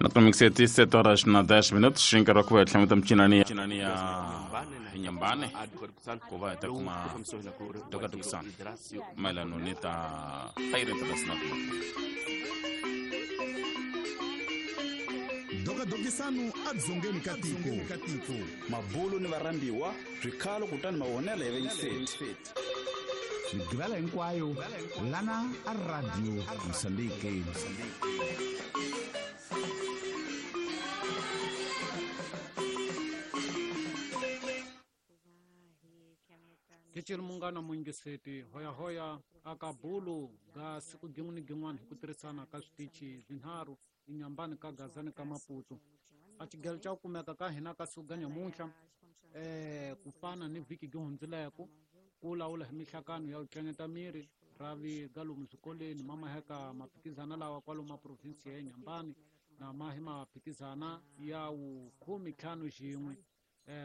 Nakamixeti 7 horas na 10 minutos, nkarhi wa ku va hi tlhameta micinani ya Nyambane ku va hi ta kuma tokatokisana mayelano ni ta Feira Internacional. Dokadokisano edzongeni ka tiko. Mabulu ni varhambiwa swikhalo kutani mavonelo ya vayingiseri. Migqivela hinkwayo lana a Radio Mozambique. Kichiri munghana muyingiseti hoyahoya aka bulu ga siku gin'we ni gin'wana hi ku tirhisana ka switichi swinharhu Inhambane ka Gaza ni ka Maputo. A xigelo xa ku kumeka ka hina ka siku ga nyamuntlha ku fana ni vhiki gi hundzileko ku lawula hi mihlakano ya ku tlanyeta miri ravi ga lomu swikolweni ma maheka maphikizana lawa kwalomu ma provinsi ya Inhambane na mahi maphikizana ya 15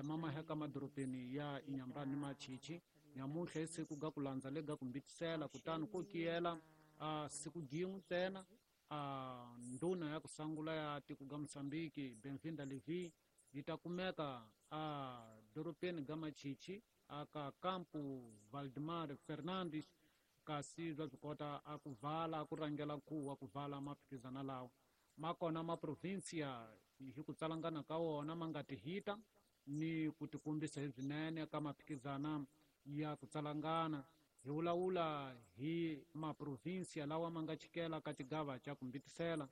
ma maheka madorobeni ya Inhambane ni Machichi. Nyamuntlha hi siku ga ku landza le ga ku mbitisela kutani ko kiyela siku gin'we ntsena ndhuna ya ku sangula ya tiko ga Mozambique Benvinda Levi yi ta kumeka a dorobeni ga Machichi aka kampu Valdemar Fernandes, kasi bya swi kota a ku vala ku rhangela nkhuvo wa ku vala maphikizana lawa ma kona ma provinsia hi ku tsalangana ka wona ma nga tihita ni ku tikombisa hi swinene ka maphikizana ya ku tsalangana. Hi vulavula hi maprovinsia lawa ma nga chikela ka xigava xa ku mbitisela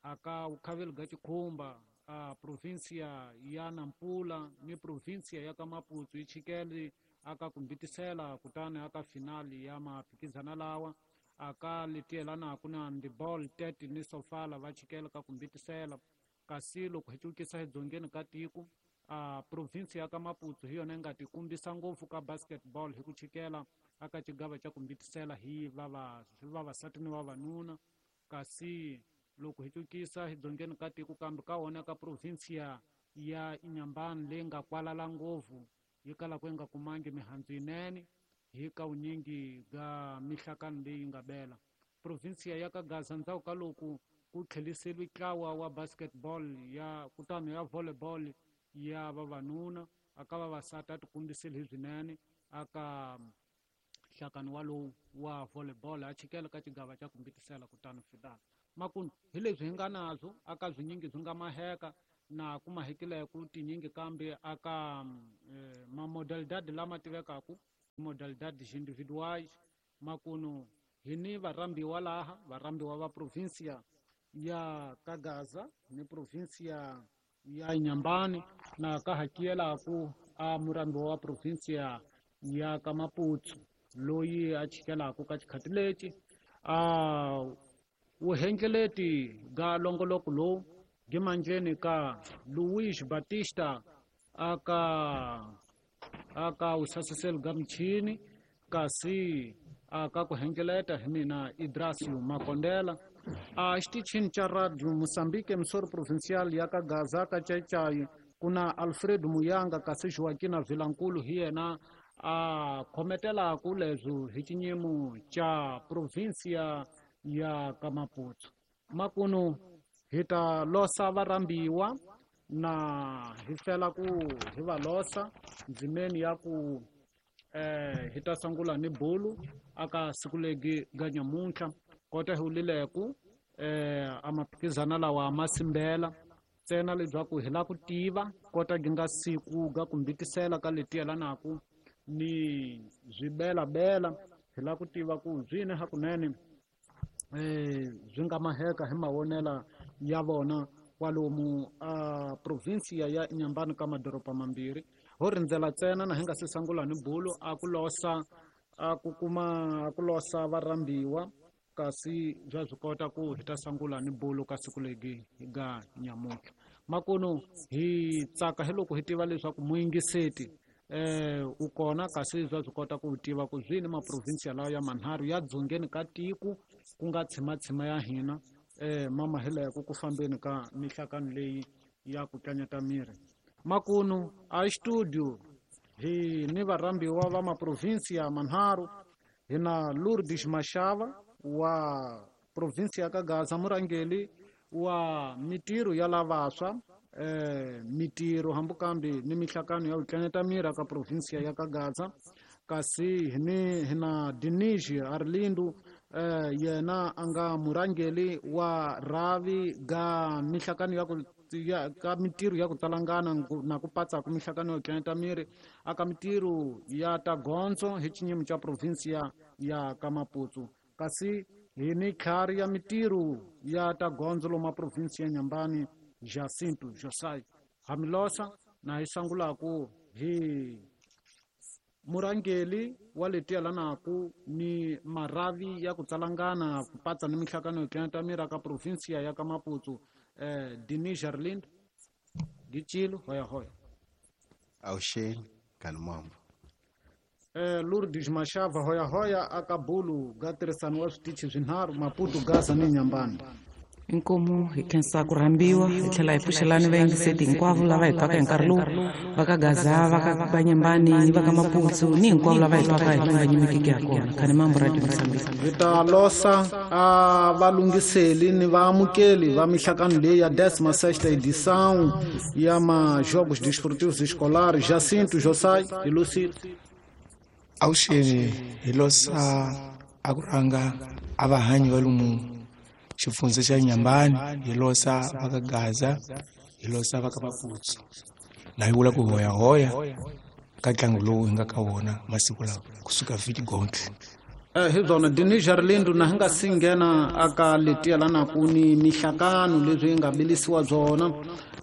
aka vukhaveli bya Chikhumba, a provinsia ya Nampula ni provinsia ya ka Maputo yi chikele aka ku mbitisela kutani aka finali ya maphikizana lawa aka letiyelanaka na handball Tete ni Sofala va chikela ka ku mbitisela. Kasi loko hi cukisa hi dzongeni ka tiko a provinsi ya ka Maputo hi yona yi nga tikombisa ngopfu ka basketball hi ku chikela aka xigava xa ku mbitisela hi vavasati ni vavanuna. Kasi loko hi cukisa hi dzongeni ka tiko kambe ka wona ka provinsia ya Inhambane leyi nga kwalala ngopfu yi kalaka yi nga kumangi mihandzu yinene hi ka vunyingi bya mihlakano leyi nga bela. Provinsia ya ka Gaza ndzhaku ka loko ku tlheliseriwe ntlawa wa basketball ya kutani ya volleyball ya vavanuna aka vavasati a tikombisile hi swinene aka nhlakano walowu wa volleyball a chikela ka xigava xa ku mbitisela kutani fitana. Makunu hi leswi hi nga nabyo aka swinyingi swi nga maheka na ku mahekileko tinyingi kambe aka mamodalidade lama tivekaku modalidades individuais. Makunu hi ni varhambiwa laha varhambiwa va provinsia ya ka Gaza ni provinsia ya Inhambane na ka hakiyelaku a murhambiwa wa provinsia ya ka Maputo loyi a chikelaku ka xikhati lexi a vuhengeleti ga longoloko lowu gimandleni ka Luis Batista aka usasiseli ga michini, kasi aka ku hengeleta hi mina Idrasio Makondela. A xitichini xa Radio Mozambique Emissora Provincial ya ka Gaza ka Chaichai ku na Alfredo Muyanga, kasi Joaquina Vilankulu hi yena a khometelaku leswi hi xinyimo xa provinsia ya ka Maputo. Makunu hi ta losa varhambiwa na hi fela ku hi va losa ndzimeni ya ku hi ta sungula ni bulu aka siku legi ga nyamuntlha kota hi wulileku a maphikizana lawa ma simbela ntsena leswaku hi la ku tiva kota gi nga siku ga ku mbitisela ka leti yelanaku ni swibelabela hi la ku tiva ku swini hakunene swi nga maheka hi mavonela ya vona kwalomu a provinsia ya Inhambane ka madoroba mambirhi. Ho rindzela ntsena na hi nga se sungula ni bulu a ku losa a ku kuma a ku losa varhambiwa, kasi bya swi kota ku hi ta sungula ni bulu ka siku legi ga nyamuntlha. Makunu hi tsaka hi loko hi tiva leswaku muyingiseti u kona, kasi bya swi kota ku tiva ku swini maprovinsia lawa ya manharhu ya dzongeni ka tiko ku nga tshimatshima ya hina ma mahileko ku fambeni ka mihlakano leyi ya ku tlanyeta miri. Makunu a studio hi ni varhambiwa va maprovinsia manharhu. Hi na Lourdes Mashava wa provinsia ya ka Gaza, murhangeri wa mitirho ya lavaswa mitirho hambukambi ni mihlakano ya ku mira ka provinsia ya Kagaza kasi ni hina Diniji Arlindo yena anga murangeli wa ravi ga mihlakano ya ku ka mitirho ya ku talangana na ku patsa ku mihlakano ya ku miri aka mitirho ya tagonzo hi xinyimo xa provinsia ya Kamaputu kasi hi ni khari ya mitirho ya tagonzo loma provinsia ya Nyambani Jacinto Josai Hamilosa na hi sangulaku hi murangeli wa letiya lanaku ni maravi ya ku tsalangana ku patsa ni mihlakano ya ku mira ka provinsia ya Kamaputu Denis Jarlind Gichilo hoya hoya Auxeni Kalumambo Lourdes Mashava hoya hoya akabulu gatirhisano wa switichi swinharhu Maputo Gaza ni Nyambani. Inkomu hi khensa ku rhambiwa hi tlhela hi pfuxelani vayingiseti hinkwavo lava hi twaka hi nkarhi lowu va ka Gaza va ka Banyambani ni va ka Maputo ni hinkwavo lava hi twaka hi nga nyimekiki ya kona khani mambo Radio Mozambique. Hi ta losa a valunghiseli ni vaamukeli va mihlakano leyi ya 16ª edição ya ma-Jogos Desportivos Escolares Jacinto Josai hi Lucile. Awuxeni hi losa a ku rhanga a vahanyi va lomu xifundza xa Nyambani hi losa va ka Gaza hi losa va ka Maputo na hi vula ku hoyahoya ka ntlangu lowu hi nga ka wona masiku lawa kusuka vhiki gontle. Hi byona Denis Jarlindo na hi nga si nghena aka letiya lanaku ni mihlakano leswi yi nga bilisiwa byona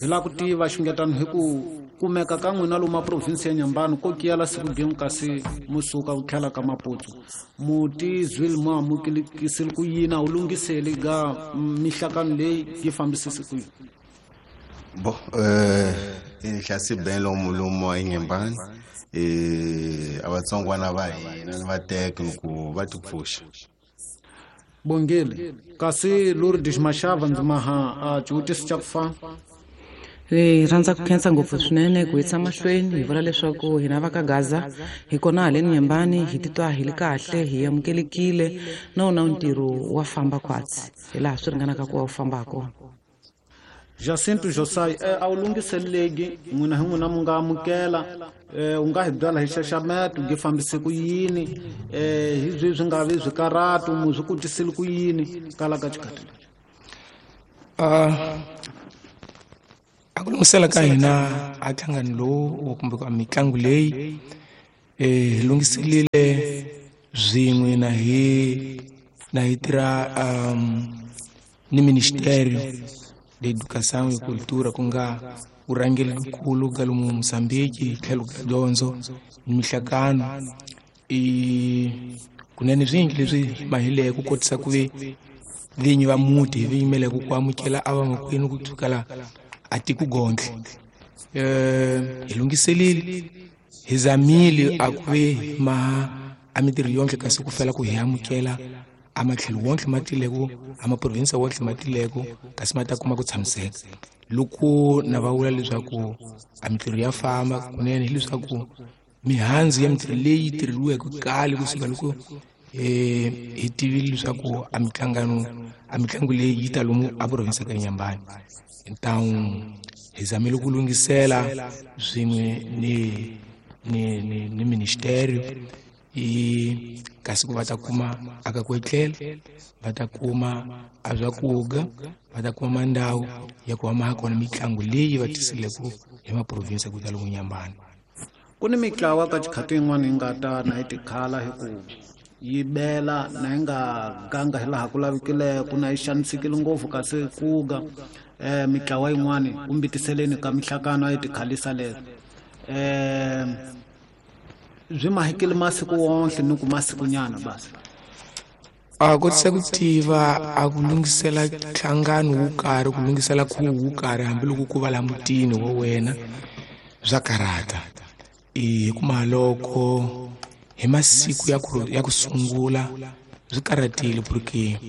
hi lava ku tiva xungetano hi ku kumeka ka n'wina lomu provinsi ya Nyambani ko kiyala siku gin'we kasi musuka ku tlhela ka Maputo muti zwile mu amukelikisile ku yini a wu lunghiseli ga mihlakano leyi yi fambisisi ku yini? Bo hlasi ben lomu lomu eNyambani a vatsongwana va hina va teka ku va tipfuxa. Bongile kasi Lourdes Mashava ndzi maha a xivutiso xa ku fana. Hi rhandza ku khensa ngopfu swinene ku yisa mahlweni hi vula leswaku hina va ka Gaza hi kona haleni Nyambani hi titwa hi li kahle hi amukelekile na wona ntirho wa famba khwatsi hi laha swi ringanaka ku va wu famba kona. Jacinto Josai a wu lunghiseleki n'wina hi n'wina mu nga amukela u nga hi byala hi xaxameto gi fambise ku yini hi byi swi nga vi swikaratu mu swi kutisile ku yini kala ka xikhathi lexi? A ku lunghisela ka hina a nhlangano lowu kumbe a mitlangu leyi hi lunghiselile swin'we na hi tirha ni Ministério de Educação e Cultura ku nga vurhangeri nkulu ka lomu Mozambique hi tlhelo ka dyondzo ni mihlakano kunene swingi leswi mahileke ku kotisa ku ve vinyi va muti hi vi yimeleke ku amukela a vamakwenu ku sukela a tiko gontle hi lunghiselile hi zamile a ku ve ma a mitirho yonke kasi ku fela ku hi amukela a matlhelo wonke ma tileko a maprovinsi wonke ma tileko kasi ma ta kuma ku tshamiseka loko na va vula leswaku a mitirho ya famba kunene hileswaku mihandzu ya mitirho leyi tirheriweke kale kusuka loko hi tivile leswaku a mihlangano a mitlangu leyi yi ta lomu a provinsi ka Nyambani. Então hi zamile ku lunghisela swin'we ni ministério i kasi ku va ta kuma aka ku etlela va ta kuma a swakudya va ta kuma mandhawu ya ku va ma kona mitlangu leyi va tisileke hi maprovinsi ku ta lomu Nyambani. Ku ni mitlawa ka xikhati yin'wana yi nga ta na yi tikhala hi ku yi bela na yi nga ganga hi laha ku lavekileke na yi xanisekile ngopfu kasi kuga mitlawa yin'wani kumbitiseleni ka mihlakano a yi tikhalisa leswo byi mahikile masiku wonke ni ku masikunyana basi. A kotisa ku tiva a ku lunghisela nhlangano wo karhi ku lunghisela khuvo wo karhi hambiloko ku va la mutini wa wena swa karata hi kuma loko hi masiku ya ku sungula swi karatile porque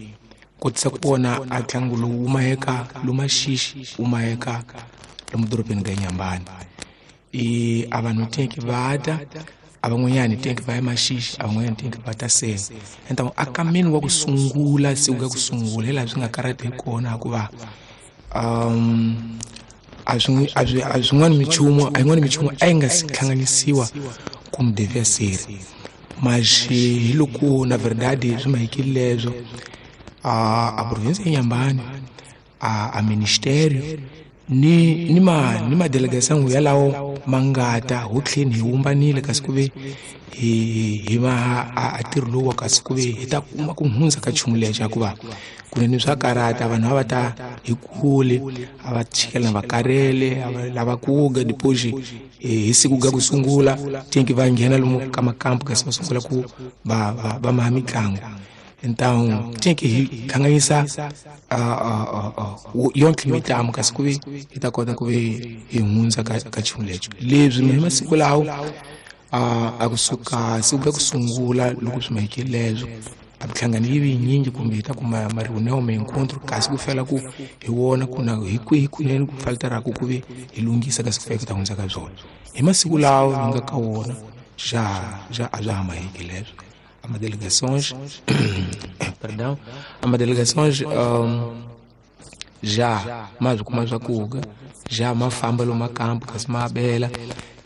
kotisa ku vona a ntlangu lowu wu maheka lomaxixi wu maheka lomu dorobeni ka Nyambani a vanhu teke va ta a van'wanyani teke va ya maxixi a van'wanyani teke va ta senga então a kameni wa ku sungula siku ya ku sungula hi laha swi nga karata hi kona hikuva A swin'wana minchumu a yin'wana minchumu a yi nga si hlanganisiwa como devia ser. Mas hi loko na verdade swi mahikile leswo a província ya Inhambane a ministério ni ma delegação yalawo mangata ho tlheni hi wumbanile kasi ku ve hi va a ntirho lowu kasi ku ve hi ta kuma ku hundza ka nchumu lexi hikuva kunene swa karata vanhu a va ta hi kule a va chikela va karele a va lava ku ga depois hi siku ga ku sungula tinki va nghena lomu ka makampu kasi va sungula ku va maha mitlangu. Então tinki hi hlanganisa yonke mitlangu kasi ku ve hi ta kota ku ve hi hundza ka nchumu lexi leswi hi masiku lawo a kusuka siku ra ku sungula loko swi mahikile leswo a mihlangano yi vi yinyingi kumbe hi ta kuma ma reunião ma encontro kasi ku fela ku hi wona ku na hi kwihi kunene ku faltaraku ku ve hi lunghisa kasi ku fika ku ta hundza ka byona hi masiku lawo hi nga ka wona já a bya ha mahiki leswo. A delegações perdão a delegações já ma swi kuma swakudya já ma famba lomu makampu kasi ma bela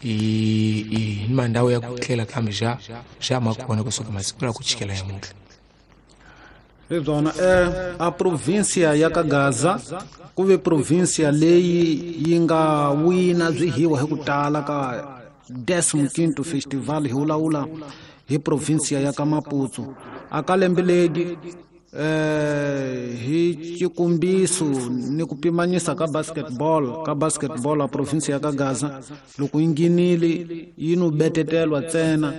i ni mandhawu ya ku tlela kambe já ma kona kusuka masiku la ku chikela yamuntlha. Hi byona a província ya ka Gaza ku ve província leyi yi nga wina byihiwa hi ku tala ka 15º festival hi vulavula hi província ya ka Maputo. A ka lembe leri hi xikombiso ni ku pimanyisa ka basketball a província ya ka Gaza loko yi nghenile yi no betetelwa ntsena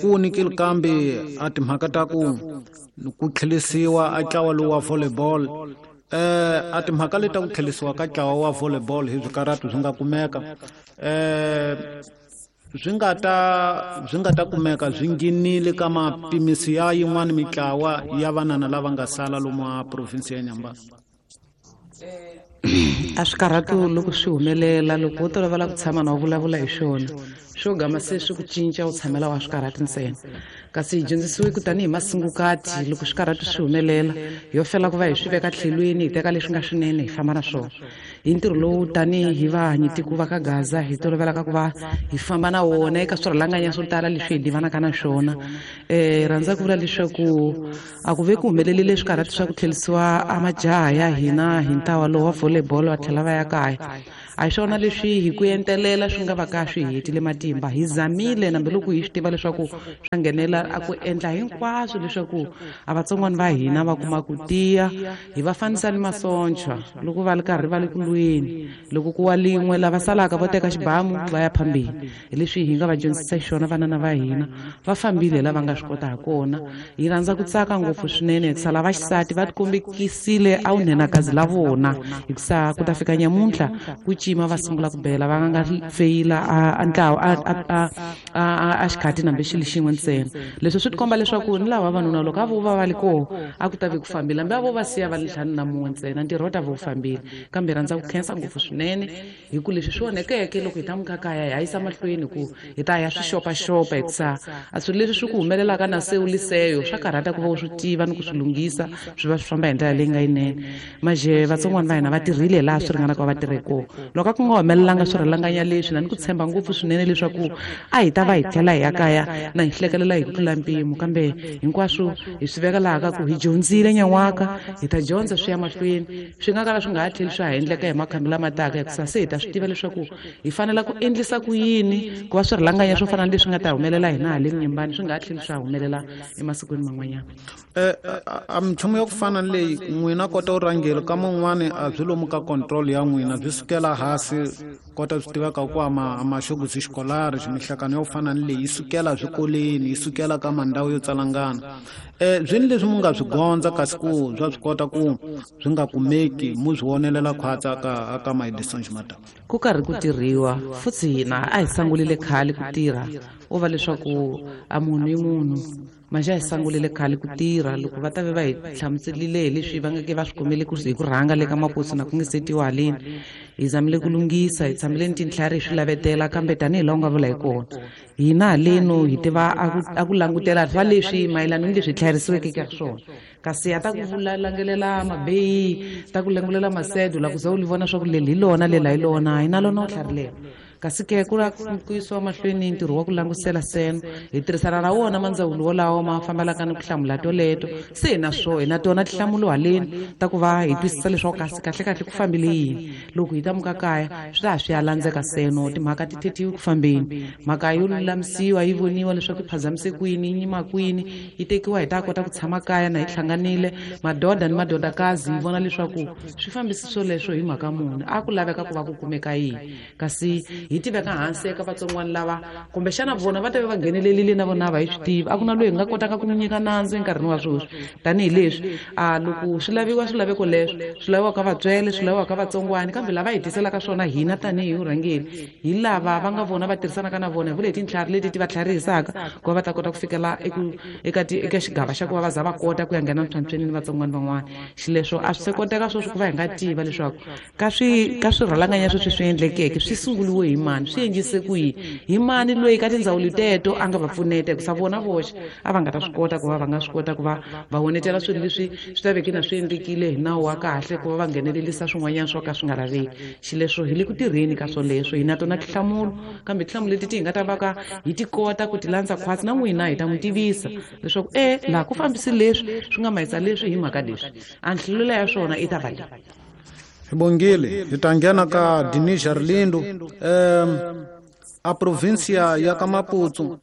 ku nikile kambe a timhaka ta ku tlhelisiwa a ntlawa lowu wa volleyball a timhaka leti ta ku tlhelisiwa ka ntlawa wa volleyball hi swikaratu swi nga kumeka swi nga ta kumeka swi nghenile ka mapimisi ya yin'wana mitlawa ya vanana lava nga sala lomu a province ya Inhambane. A swikarhatu loko swi humelela loko wo tolovela ku tshama na u vulavula hi swona swo gama se swi ku cinca u tshamela wa swikarhatu ntsena kasi hi dyondzisiwe ku tanihi masungukati loko swikarhatu swi humelela yo fela ku va hi swi veka tlhelweni hi teka leswi nga swinene hi famba na swona. Hi ntirho lowu tanihi vahanyitiko va ka Gaza hi tolovelaka ku va hi famba na wona eka swirhalanganya swo tala leswi hi divanaka na swona. Rhandza ku vula leswaku a ku ve ku humelelile swikarhatu swa ku tlhelisiwa a majaha ya hina hi ntlawa lowu wa volleyball va tlhela va ya kaya. A hi swona leswi hi ku entelela swi nga va ka swi hetile matimba. Hi zamile nambe loko hi swi tiva leswaku swa nghenela a ku endla hinkwaswo leswaku a vatsongwana va hina va kuma ku tiya hi va fanisa ni masocha loko va ri karhi va le ku lweni loko ku wa lin'we lava salaka vo teka xibamu va ya phambili. Hi leswi hi nga va dyondzisa xona vanana va hina va fambile lava nga swi kota ha kona. Hi rhandza ku tsaka ngopfu swinene hikusa lava xisati va tikombekisile a vunhenakazi la vona hikusa ku ta fika nyamuntlha ku cima va sungula ku bela va nga feyila a ntlawa a xikhati nambe xilo xin'we ntsena. Leswi swi tikomba leswaku ni lava vavanuna loko a vo va va li koho a ku ta ve ku fambile hambi a vo va siya va li ntlhanu na mun'we ntsena ntirho wu ta va wu fambile. Kambe rhandza ku khensa ngopfu swinene hi ku leswi swi onhekeke loko hi ta muka kaya hi yisa mahlweni ku hi ta ya swi xopaxopa hikusa a swilo leswi swi ku humelelaka na se u liseyo swa karhata ku va u swi tiva ni ku swi lunghisa swi va swi famba hi ndlela leyi nga yinene. Maje vatsongwana va hina va tirhile laha swi ringanaka va tirhe kona. Loko a ku nga humelelanga swirhalanganya leswi na ni ku tshemba ngopfu swinene leswaku a hi ta va hi tlhela hi ya kaya na hi hlekelela hi ku tlula mpimo kambe hinkwaswo hi swi veka laha ka ku hi dyondzile nyan'waka hi ta dyondza swi ya mahlweni swi nga kala swi nga ha tlheli swa ha endleka hi makhambi lama taka hikusa se hi ta swi tiva leswaku hi fanela ku endlisa ku yini ku va swirhalanganya swo fana na leswi nga ta humelela hina haleni Nyembani swi nga ha tlheli swa humelela emasikwini man'wanyana. A minchumu ya ku fana na leyi n'wina kota u rhangela ka man'wani a byi lomu ka control ya n'wina byi sukela hansi kota swi tiveka ku a maxoguzi xikolari mihlakano ya ku fana na leyi yi sukela swikolweni yi sukela ka mandhawu yo tsalangana. Byi ni leswi mu nga swi gondza kasi ku swa swi kota ku swi nga kumeki mu swi vonelela khwatsa ka maedison ximata. Ku karhi ku tirhiwa futhi hina a hi sangulile khale ku tirha u va leswaku a munhu i munhu maja hi sangulile khale ku tirha loko va ta ve va hi hlamuselile hi leswi va nga ke va swi kumele ku hi ku rhanga le ka Maputo na ku nge setiwa haleni. Hi zamile ku lunghisa, hi tshamile ni tintlhari hi swi lavetela, kambe tanihi laha u nga vula hi kona, hina haleno hi tiva a ku langutela swa leswi mayelana ni leswi tlharisiweke ka swona. Kasi a ta ku vula langelela mabeyi, ta ku langulela masedo, la ku za u li vona swa ku leli hi lona, lela hi lona, hi na lona u tlharilela. Kasi ke ku la ku yisiwa mahlweni ntirho wa ku langusela seno, hi tirhisana na wona mandzawulo wolawo ma fambelaka ni ku hlamula toleto. Se hi na swo, hi na tona tinhlamulo haleni ta ku va hi twisisa leswaku kasi kahlekahle ku fambile yini. Loko hi ta muka kaya swi ta ha swi ya landzeka seno, timhaka ti thethiwi ku fambeni, mhaka yo lulamisiwa yi voniwa leswaku yi phazamise kwini, yi nyima kwini, yi tekiwa hi ta kota ku tshama kaya na hi hlanganile madoda ni madodakazi, hi vona leswaku swi fambisi swoleswo hi mhaka muni, a ku laveka ku va ku kumeka yini. Kasi hi tiveka hansi eka vatsongwana lava kumbexana vona va ta va nghenelerile na vona va hi swi tivi, a ku na loyi hi nga kotaka ku n'wi nyika nandzu enkarhini wa sweswi. Tanihileswi a loko swi laviwa swilaveko leswo swi laviwaka ka vatswele, swi laviwaka ka vatsongwani, kambe lava hi tiselaka swona hina tanihi vurhangeri hi lava va nga vona va tirhisanaka na vona, hi vule hi tintlhari leti ti va tlharihisaka ku va va ta kota ku fikela eka xigava xa ku va va za va kota ku ya nghena ntlhantlhweni ni vatsongwani van'wana. Xileswo a swi se koteka sweswi ku va hi nga tiva leswaku ka swirhalanganya sweswi swi endlekeke swi sunguriwe hi mani, swi endlise ku yini, hi mani loyi ka tindzawulo teto a nga va pfuneta, hikusa vona voxe a va nga ta swi kota ku va va nga swi kota ku va va honetela swilo leswi swi ta veke na swi endlekile hi nawu wa kahle ku va va nghenelelisa swin'wanyana swo ka swi nga laveki. Xileswo hi le ku tirheni ka swoleswo, hi na tona tinhlamulo, kambe tinhlamulo leti ti hi nga ta va ka hi ti kota ku ti landza khwatsi, na n'wina hi ta n'wi tivisa leswaku laha ku fambisi leswi swi nga mayisa leswi hi mhaka leswi, a nhlamulo ya swona i ta va leyi. Hi bongile, hi ta nghena ka Dinis Arlindo. A provincia ya ka Maputo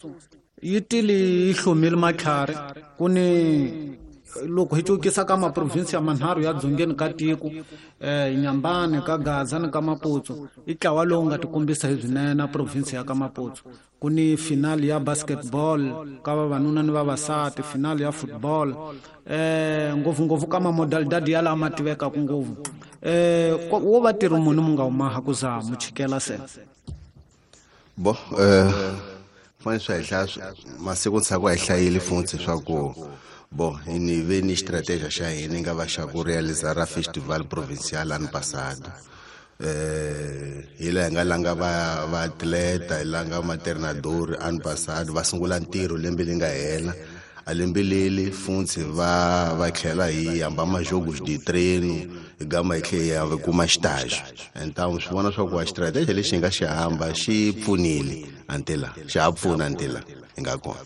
yi tile yi hlomile matlhari, ku ni loko hi cukisa ka maprovinsia manharhu ya dzongeni ka tiko, Inhambane, ka Gaza ni ka Maputo, i ntlawa lowu nga tikombisa hi swinene a provinsia ya ka Maputo. Ku ni final ya basketball ka vavanuna ni vavasati, final ya football, ngopfungopfu ka mamodalidadi ya lama tivekaka ngopfu. Wo va tirhi muni mu nga humaha ku za mu chikela se? Bo, fanele swi hi hlaya masiku ntshaku a hi hlayile futhi swa ku bo ni ve ni strategy xa hina nga va xa ku realiza ra festival provincial ano passado. Hi laha hi nga langa va atleta, hi langa maternador ano passado, va sungula ntirho lembe leri nga hela. A lembe leri futhi va tlhela hi hamba majogos de treino, hi gama hi tlhela hi ya kuma xitaxo. Então swi vona swa ku a strategy lexi hi nga xi hamba xi pfunile antela, xa ha pfuna antela hi nga kona.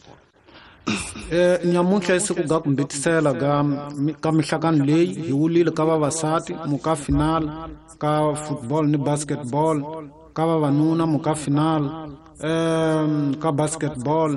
Nyamuntlha i siku ga ku mbitisela ka mihlakano leyi hi wulile ka vavasati muka final ka football ni basketball, ka vavanuna muka final ka basketball.